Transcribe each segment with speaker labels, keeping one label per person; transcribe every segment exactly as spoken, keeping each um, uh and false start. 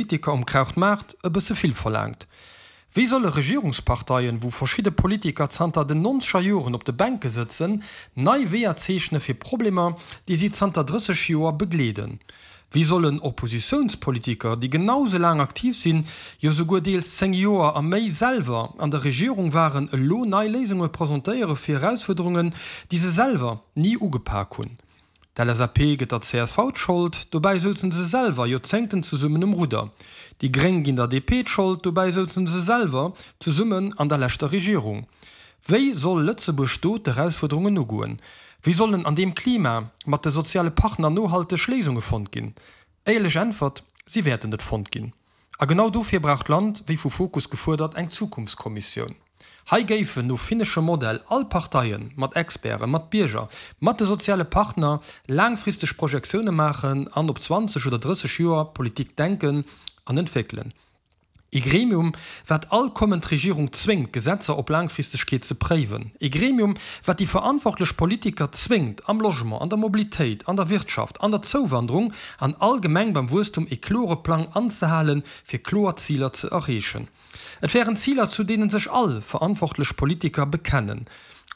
Speaker 1: Politiker um Krautmaart e bësse vill verlaangt. Wéi solle Regierungsparteien, wou verschidde Politiker zanter den nonzeger Joren op de Bänke sëtzen, nei Weeër zeechne fir Problemer, déi si zanter drësseg Joer begleeden? Wéi sollen Oppositiounspolitiker, déi genau sou laang aktiv sinn, jo souguer deels zéng Joer a méi selwer an der Regierung waren, elo nei Léisunge presentéiere fir Erausfuerderungen, déi se selwer ni ugepak hunn? D'LSAP gëtt der csv d'Schold, dobäi souzen se selwer Joerzéngten zesummen um Rudder. Déi Gréng ginn der DP d'Schold, dobäi souzen se selwer zesummen an der leschter Regierung. Wéi soll Lëtzebuerg do d'Erausfuerderungen ugoen? Wéi sollen an deem Klima mat de soziale Partner nohalteg Léisunge fonnt ginn? Éierlech Äntwert, Si wäerten net fonnt ginn. A genau dofir brauch d'Land, wéi vu Fokus gefuerdert, eng Zukunftskommissioun. Hei géifen no finneschem Modell all Parteien, mat Experten, mat Bierger, mat de soziale Partner laangfristeg Projektioune maachen an op zwanzeg oder drësseg Joer Politik denken an entwéckelen. Ee Gremium, wat all kommend Regierung zwéngt, Gesetzer op Laangfristegkeet ze préiwen. Ee Gremium, wat déi verantwortlech Politiker zwéngt, am Logement, an der Mobilitéit, an der Wirtschaft, an der Zouwanderung an allgemeng beim Wuesstum ee klore Plang anzehalen, fir kloer Ziler ze erreechen. Et wären Ziler, zu deene sech all verantwortlech Politiker bekennen,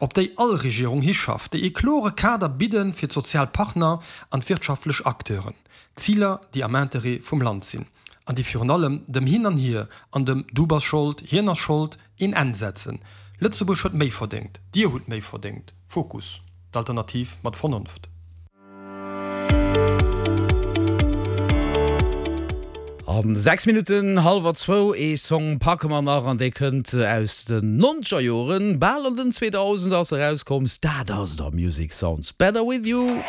Speaker 1: op déi all Regierung hischafft, déi ee klore Kader bidde fir d'sozial Partner an d'wirtschaftlech Acteuren. Ziler, déi am Interêt vum Land sinn an déi virun allem dem Hin an Hier an dem Du bass Schold, hien ass Schold een Enn setzen. Lëtzebuerg huet méi verdéngt, Dir hutt méi verdéngt. Fokus, d'Alternativ mat Vernonft.
Speaker 2: An sechs Minutten hallwer zwou, ee Song packe mer nach an dee kënnt aus den nonzeger Joren, bal an den zweedausend ass e rauskomm, Stardust a Music Sounds Better With You.